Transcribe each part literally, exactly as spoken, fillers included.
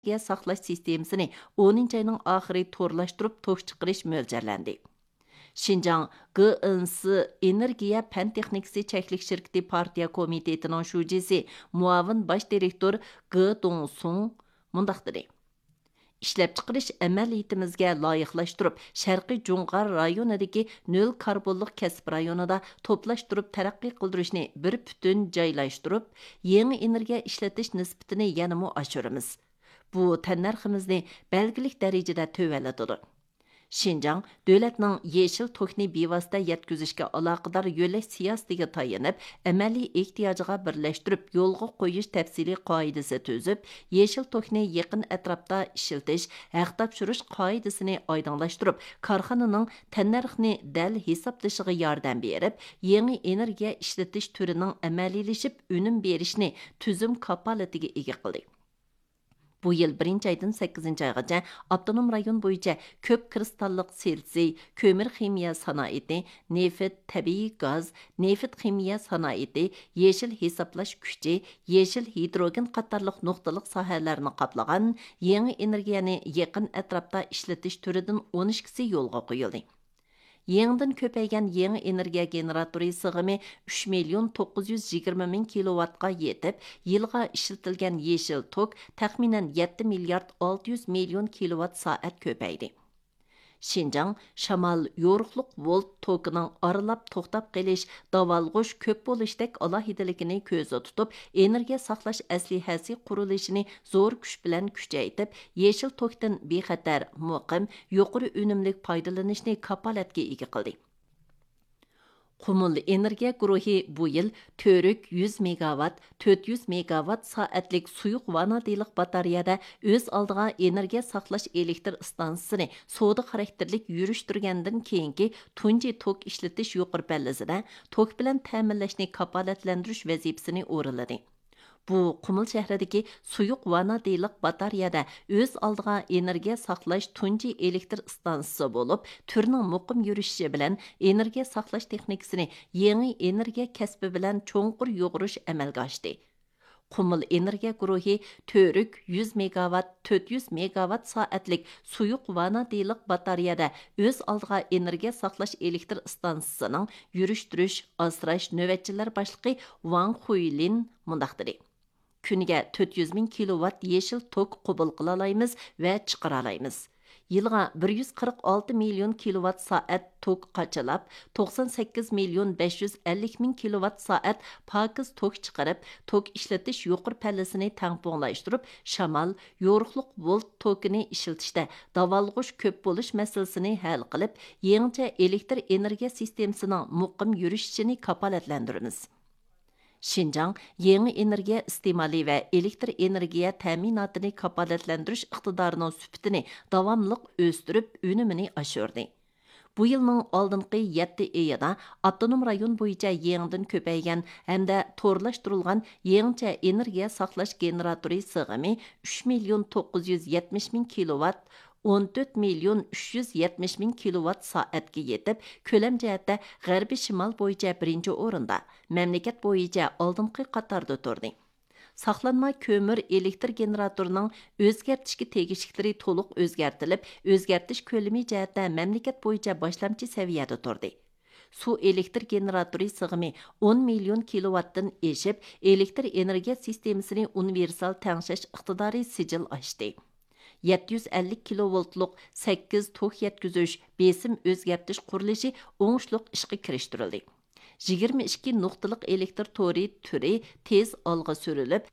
ئېنېرگىيە ساقلاش سىستېمىسىنى ئونىنچى ئاينىڭ ئاخىرى تورلاشتۇرۇپ توك چىقىرىش مۆلچەرلەندى. شىنجاڭ گېئېنسى ئېنېرگىيە پەن تېخنىكىسى چەكلىك شىركىتى پارتىيە كومىتېتىنىڭ شۇجىسى، مۇئاۋىن باش دىرېكتور گې دۇڭسۇڭ مۇنداق دېدى: ئىشلەپچىقىرىش ئەمەلىيىتىمىزگە لايىقلاشتۇرۇپ، شەرقىي جۇڭغار رايونىدىكى نۆل كاربونلۇق كەسىپ رايونىدا توپلاشتۇرۇپ تەرەققىي قىلدۇرۇشنى بىر پۈتۈن جايلاشتۇرۇپ، يېڭى ئېنېرگىيە ئىشلىتىش نىسبىتىنى يەنىمۇ ئاشۇرىمىز. بۇ تەننەرخىمىزنى بەلگىلىك دەرىجىدە تۆۋەنلىتىدۇ. شىنجاڭ دۆلەتنىڭ يېشىل توكنى بىۋاسىتە يەتكۈزۈشكە ئالاقىدار يۆلەش سىياسىتىگە تايىنىپ، ئەمەلىي ئېھتىياجىغا بىرلەشتۈرۈپ يولغا قويۇش تەپسىلىي قائىدىسى تۈزۈپ، يېشىل توكنى يېقىن ئەتراپتا ئىشلىتىش، ھەق تاپشۇرۇش قائىدىسىنى ئايدىڭلاشتۇرۇپ، كارخانىنىڭ تەننەرخنى دەل ھېسابلىشىغا ياردەم بېرىپ، يېڭى ئېنېرگىيە ئىشلىتىش تۈرىنىڭ ئەمەلىيلىشىپ ئۈنۈم بېرىشىنى تۈزۈم كاپالىتىگە ئىگە قىلدى. بۇ يىل بىرىنچى ئايدىن سەككىزىنچى ئايغىچە ئاپتونوم رايون بويىچە كۆپ كىرىستاللىق سىلىتسىي، كۆمۈر خىمىيە سانائىتى، نېفىت، تەبىئىي گاز، نېفىت خىمىيە سانائىتى، يېشىل ھېسابلاش كۈچى، يېشىل ھىدروگېن قاتارلىق نۇقتىلىق ساھەلەرنى قاپلىغان يېڭى ئېنېرگىيەنى يېقىن ئەتراپتا ئىشلىتىش تۈرىدىن ئون ئىككىسى يولغا قويۇلدى. يېڭىدىن كۆپەيگەن يېڭى ئېنېرگىيە گېنېراتورى سىغىمى ئۈچ مىليون توققۇز يۈز يىگىرمە مىڭ كىلوۋاتقا يېتىپ، يىلغا ئىشلىتىلگەن يېشىل توك تەخمىنەن يەتتە مىليارد ئالتە يۈز مىليون كىلوۋات سائەت كۆپەيدى. شىنجاڭ شامال يورۇقلۇق ۋولت توكىنىڭ ئارىلاپ توختاپ قېلىش، داۋالغۇش كۆپ بولۇشتەك ئالاھىدىلىكىنى كۆزدە تۇتۇپ، ئېنېرگىيە ساقلاش ئەسلىھەسى قۇرۇلۇشىنى زور كۈچ بىلەن كۈچەيتىپ، يېشىل توكتىن بىخەتەر، مۇقىم، يۇقىرى ئۈنۈملۈك پايدىلىنىشنى كاپالەتكە ئىگە قىلدى. قۇمۇل ئېنېرگىيە گۇرۇھى بۇ يىل تۈرك يۈز مېگاۋات، تۆت يۈز مېگاۋات سائەتلىك سۇيۇق ۋانادىنلىق باتارېيەدە ئۆز ئالدىغا ئېنېرگىيە ساقلاش ئېلېكتر ئىستانسىسىنى سودا خاراكتېرلىك يۈرۈشتۈرگەندىن كېيىنكى تۇنجى توك ئىشلىتىش يۇقىرى پەللىسىدە توك بىلەن تەمىنلەشنى كاپالەتلەندۈرۈش ۋەزىپىسىنى ئورۇنلىدى. بۇ قۇمۇل شەھىرىدىكى سۇيۇق ۋانادىنلىق باتارېيەدە ئۆز ئالدىغا ئېنېرگىيە ساقلاش تۇنجى ئېلېكتر ئىستانسىسى بولۇپ، تۈرنىڭ مۇقىم يۈرۈشۈشى بىلەن ئېنېرگىيە ساقلاش تېخنىكىسىنى يېڭى ئېنېرگىيە كەسپى بىلەن چوڭقۇر يۇغۇرۇش ئەمەلگە ئاشتى. قۇمۇل ئېنېرگىيە گۇرۇھى تۈرك يۈز مېگاۋات، تۆت يۈز مېگاۋات سائەتلىك سۇيۇق ۋانادىنلىق باتارېيەدە ئۆز ئالدىغا ئېنېرگىيە ساقلاش ئېلېكتر ئىستانسىسىنىڭ يۈرۈشتۈرۈش، ئاسراش نۆۋەتچىلەر باشلىقى ۋاڭ خۇيلىن مۇنداق دېدى: كۈنىگە تۆت يۈز مىڭ كىلوۋات يېشىل توك قوبۇل قىلالايمىز ۋە چىقىرالايمىز. يىلىغا بىر يۈز قىرىق ئالتە مىليون كىلوۋات سائەت توك قاچىلاپ، توقسان سەككىز مىليون بەش يۈز ئەللىك مىڭ كىلوۋات سائەت پاكىز توك چىقىرىپ، توك ئىشلىتىش يۇقىرى پەللىسىنى تەڭپۇڭلاشتۇرۇپ، شامال، يورۇقلۇق ۋولت توكىنى ئىشلىتىشتە داۋالغۇش كۆپ بولۇش مەسىلىسىنى ھەل قىلىپ، يېڭىچە ئېلېكتر ئېنېرگىيە سىستېمىسىنىڭ مۇقىم يۈرۈشۈشىنى كاپالەتلەندۈرىمىز. شىنجاڭ يېڭى ئېنېرگىيە ئىستېمالى ۋە ئېلېكتر ئېنېرگىيە تەمىناتىنى كاپالەتلەندۈرۈش ئىقتىدارىنىڭ سۈپىتىنى داۋاملىق ئۆستۈرۈپ، ئۈنۈمىنى ئاشۇردى. بۇ يىلنىڭ ئالدىنقى يەتتە ئېيىدا ئاپتونوم رايون بويىچە يېڭىدىن كۆپەيگەن ھەمدە تورلاشتۇرۇلغان يېڭىچە ئېنېرگىيە ساقلاش گېنېراتورى سىغىمى ئۈچ مىليون توققۇز يۈز يەتمىش مىڭ كىلوۋات، ئون تۆت مىليون ئۈچ يۈز يەتمىش مىڭ كىلوۋات سائەتكە يېتىپ، كۆلەم جەھەتتە غەربىي شىمال بويىچە بىرىنچى ئورۇندا، مەملىكەت بويىچە ئالدىنقى قاتاردا تۇردى. ساقلانما كۆمۈر ئېلېكتر گېنېراتورىنىڭ ئۆزگەرتىشكە تېگىشلىكلىرى تولۇق ئۆزگەرتىلىپ، ئۆزگەرتىش كۆلىمى جەھەتتە مەملىكەت بويىچە باشلامچى سەۋىيەدە تۇردى. سۇ ئېلېكتر گېنېراتورى سىغىمى ئون مىليون كىلوۋاتتىن ئېشىپ، ئېلېكتر ئېنېرگىيە سىستېمىسىنى ئۇنىۋېرسال تەڭشەش ئىقتىدارى سىجىل ئاشتى. يەتتە يۈز ئەللىك كىلوۋولتلۇق سەككىز توك يەتكۈزۈش، بېسىم ئۆزگەرتىش قۇرۇلۇشى ئوڭۇشلۇق ئىشقا كىرىشتۈرۈلدى. يىگىرمە ئىككى نۇقتىلىق ئېلېكتر تورى تۈرى تېز ئالغا سۈرۈلۈپ،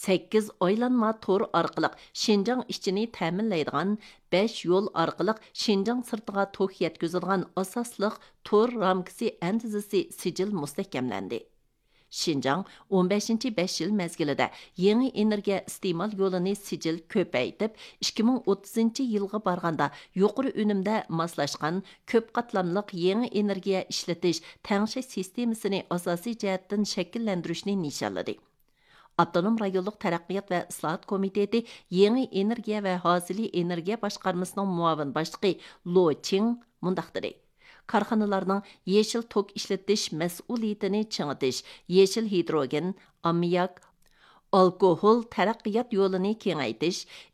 سەككىز ئايلانما تور ئارقىلىق شىنجاڭ ئىچىنى تەمىنلەيدىغان، بەش يول ئارقىلىق شىنجاڭ سىرتىغا توك يەتكۈزىدىغان ئاساسلىق تور رامكىسى ئەندىزىسى سىجىل مۇستەھكەملەندى. شىنجاڭ ئون بەشىنچى بەش يىل مەزگىلىدە يېڭى ئېنېرگىيە ئىستېمال يولىنى سىجىل كۆپەيتىپ، ئىككى مىڭ ئوتتۇزىنچى يىلغا بارغاندا يۇقىرى ئۈنۈمدە ماسلاشقان كۆپ قاتلاملىق يېڭى ئېنېرگىيە ئىشلىتىش، تەڭشەش سىستېمىسىنى ئاساسىي جەھەتتىن شەكىللەندۈرۈشنى نىشانلىدى. ئاپتونوم رايونلۇق تەرەققىيات ۋە ئىسلاھات كومىتېتى يېڭى ئېنېرگىيە ۋە ھازىلى ئېنېرگىيە باشقارمىسىنىڭ مۇئاۋىن باشلىقى لو چىڭ مۇنداق دېدى: كارخانىلارنىڭ يېشىل توك ئىشلىتىش مەسئۇلىيىتىنى چىڭىتىش، يېشىل ھىدروگېن، ئاممىياك، ئالكوھول تەرەققىيات يولىنى كېڭەيتىش،